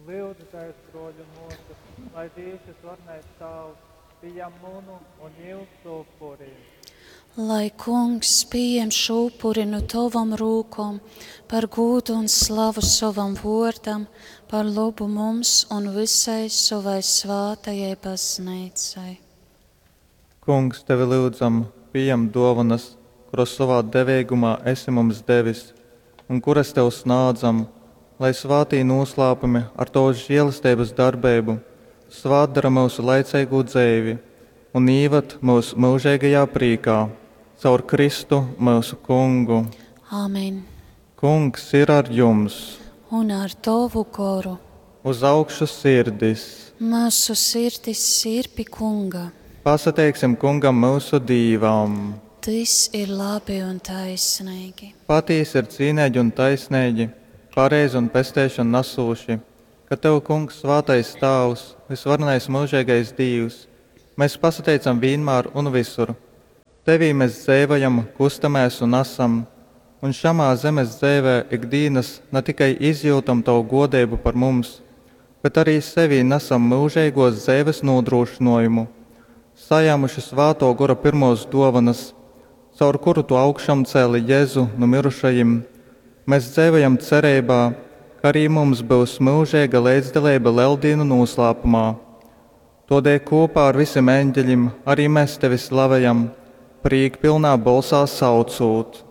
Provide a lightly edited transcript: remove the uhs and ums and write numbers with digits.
Lyudzitēs, brōļi un mōsas, lai Dīvs vysvarenais Tāvs pījam munu un jyusu upuri. Lai Kungs pījem šo upuri nu tovom rūkom par gūdu un slavu sovam vōrdam, par lobu mums un vysai sovai svātajai Bazneicai. Kungs, tevi lyudzam, pījem dōvonas, kuras sovā deveigumā esi mums devis un kuras tev snādzam, lai svātī nūslāpumi ar tovas želesteibas darbeibu svātdora myusu laiceigū dzeivi un īvad myus myužeigajā prīkā. Caur Kristu, myusu Kungu. Amen. Kungs ir ar jums! Un ar tovu goru. Uz augšu sirdis! Myusu sirdis ir pi Kunga. Pasateiksim Kungam myusu Dīvam! Tys ir labi un taisneigi. Patīsi ir cīneigi un taisneigi, pareizi un pesteišonu nasūši, ka tev, Kungs, svātais Tāvs, vysvarenais myužeigais Dīvs, mes pasateicam vīnmār un vysur. Tevī mes dzeivojam, kustamēs un asam, un šamā zemes dzeivē ik dīnas na tikai izjyutam tovu gōdeibu par mums, bet arī sevī nasam myužeigōs dzeives nūdrūšynōjumu, sajāmuši Svātō Gora pyrmōs dōvonas, caur kuru tu augšamcēli Jezu nu myrušajim, mes dzeivojam cereibā, ka arī mums byus myužeiga leidzdaleiba Leldīnu nūslāpumā. Tōdēļ kūpā ar visim eņģeļim arī mes tevi slavejam, prīkpylnā bolsā saucūt.